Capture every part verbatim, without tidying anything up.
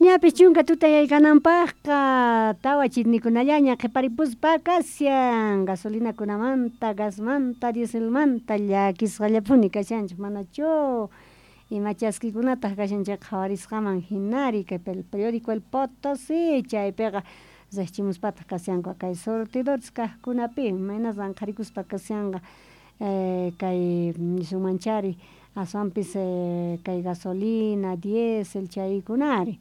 Ñapis chunka tutayaykananpaqqa tawa chitnikunallaña qhiparipuspa kashan gasolinakunamanta, gasmanta, dieselmanta llakisqallapuni kashanchik manachu ima chaskikunataq kashan chay qhawarisqaman hinari kay el periodico El Potosí chaypiqa riqchimuspataq kashanku kay surtidores kaqkunapi imayna ranqharikuspa kashanqa kay nisunmanchari aswanpis kay gasolina, diesel chaykunari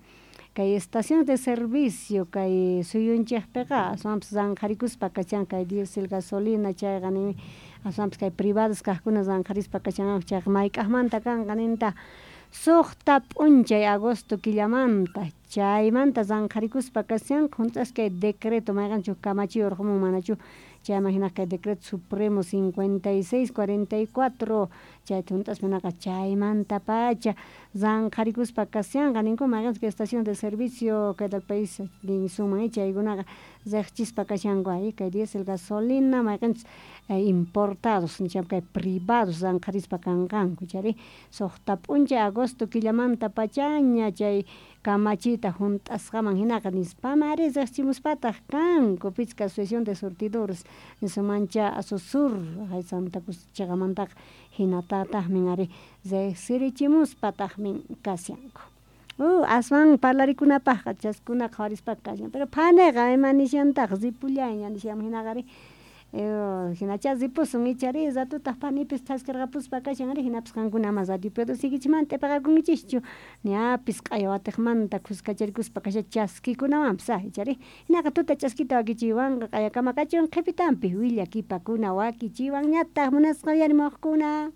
kay estación de servicio kay suyunchikpiqa aswanpis ranqharikuspa kachan kay diesel, gasolina chayqa nin aswanpis kay privados kaqkuna ranqharispa kachanqanku chayqa mayk'aqmanta kanqa ninta suqta p'unchay agosto killamanta chaymanta ranqharikuspa kashanqa hunt'asqa kay decreto mayqinchus kamachiy urqhumun manachu chayman hinaqa kay decreto supremo cincuenta y seis cuarenta y cuatro chayta hunt'aspa hinaqa chaymantapacha ranqharikuspa kashanqa ninku mayqinchus kay estación de servicio kay del país nisunman chaykunaqa riqchispa kashanku ay kay diesel, gasolina mayqinchus importados kay privados ranqharispa kanqanku chayri suqta p'unchay agosto killamanta pachaña chay kamachiyta hunt'asqaman hinaqa nispamari riqchimuspataq kanku pichqa asociación de surtidores nisunmancha Asusur Santa Cruz chiqamantaqa hinatataqmin ari riqsirichimuspataqmin kashanku uh aswan parlarikunapaqqa chaskuna qhawarispaqa kashan pero phaniqa ima nishantaqa ripullayña nishanman hinaqa ari hinacha ripusun ichari ratutaq phanipis thaskirqapuspa kashan ari hinapis qankuna ama radio Potosiykichikmanta t'ipaqakunkichischu ñapis q'aya watiqmanta khuskacharikuspa kashan chaskikunawanpis a ichari hinaqa tuta chaskita wakichiwanqa q'ayakama kachun qhipitanpi willakipakuna wakichiwanñataq munasqa uyarimuqkuna.